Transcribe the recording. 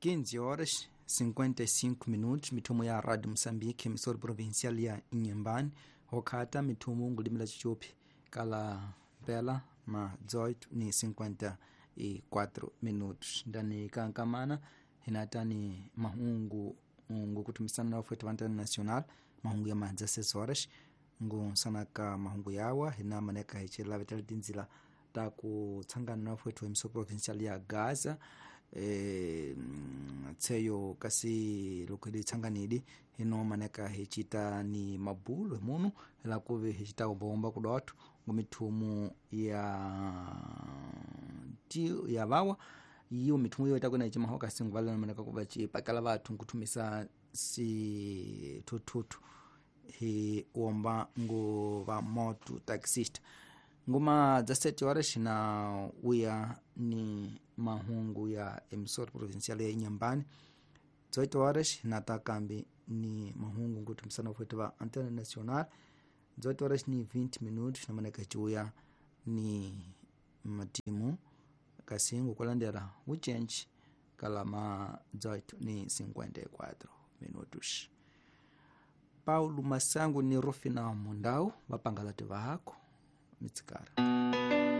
15 horas 55 minutos, mithumu ya Rádio Moçambique, emissora provincial ya Inhambane, hokhata mithumu ngulimila chichupi kala bela ma 18 ni 54 minutos. Ndani kankamana hinatani mahungu ngukuthumisana na ufwetu wa Antena Nacional, mahungu ya ma 16 horas ngunsanaka mahungu yawa hina maneka hichela vetela tinzila ta kutsangana na ufwetu wa emissora provincial ya Gaza. Tseyo kasi loko tsanganidi hino maneka hichita ni mabulo munu la kuve hichita kubomba kudoto ngumithumu ya ti ya vawa iyo mithumu yo takuna ichimaho kasi nguvala maneka kuva chipakala vathu nkuthumisa si thuthuthu hi womba nguva moto taxista. Nguma 17 horas na uya ni mahungu ya emissora provincial ya Inhambane. 18 horas na takambi ni mahungu nguthumisana ufwetu wa Antena Nacional. 18 horas ni 20 minutos na maneka chuya ni matimu kasingu kulandela uchenji kala ma 18 ni 54 minutos. Paulo Masango ni Rufina Mundau vapangala tivahako mitsikara.